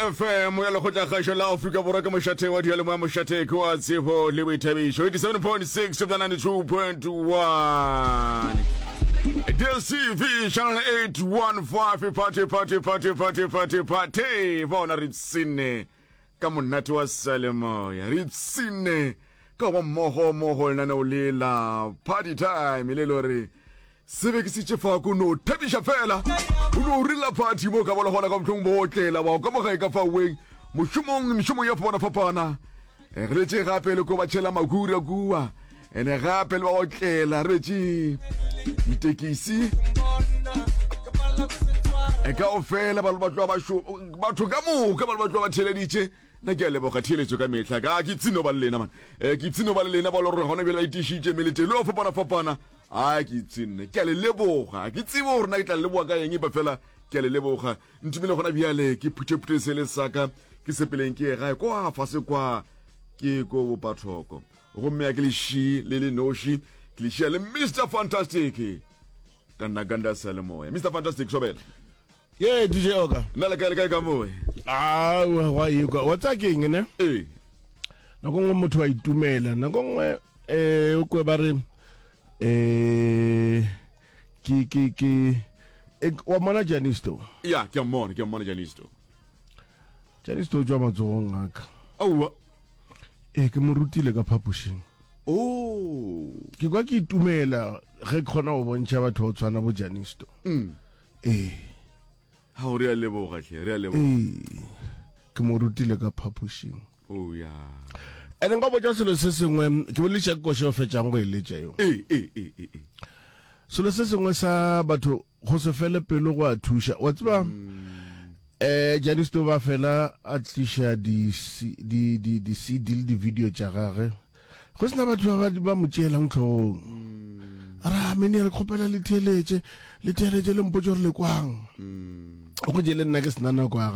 FM ya lekgotlakgašo la Afrika Borwa ke mošate wa diyalemoya mošate ke wa tsebo le boithabišo 87.6 to 92.1 DSTV channel 815 party party party party party party bona re tsine ka monate wa salemoya re ipshinne ka go ba mmogo mo go lenaneo le la party time le le gore se be ke sitše fa ko no thabiša fela o no rela party mo ka bona gona ka mohlong bootlela bao ka mogae ka faweng mošomong mešomong ya fapana fapana eh, re letše gape le ko ba tšhela makhura kua ene gape le ba otlela re betše ditekisi e kao fela ba ba tloa ba batho ka moka ba ba tloa ba theeleditše nna ke a leboga theeletso ka mehla ka ke ipshino ba le lena man um ke ipshino ba le lena ba le gore gona bjale ba itišitše meletelo ya fapana-fapana a ke ipshinne ke a le leboga ke tsebe gore na ke tla le leboga ka eng epa fela ke a le leboga ntumele gona bjale ke phuthephuthe se le saka ke sepeleng ke ye gae kwa fase kwa ke ko bopathoko gomme a ke le ši le le noši ke le šia le mr fantastic ka nna ganda sa le moya mr fantastic sobela ye dj oka nna le kae le kae ka moe awa gwa ekwa wa tsa keng ne ee nako nngwe motho wa itumela nako nngwe um o kwe ba re um ke ke ke e, wa mona janisto ya ke a mmona ke a mmona janisto janisto o tswa matsogong aka aowa ee ke mo rutile ka phapošing oh ke kwa ke itumela ge ke kgona go bontšha batho ba tshwana bo janisto mm. ee ga o re a leboga tlhe re a leboga ee ke mo rutile ka phapošing oh ya ene nka botša selo se sengwe ke boletša ke koše o fetšang go e letša yo ee ee ee ee ee. selo se sengwe sa batho go se fele pelo go a thuša wa tseba um janisto ba fela a tliša di-cd le di-video tša gage go sena batho ba ba mo tšeelang tlhogong ra mene re kgopela le theeletše le theeletše le mpotse gore le kwang go je le nna ke sena nako ya.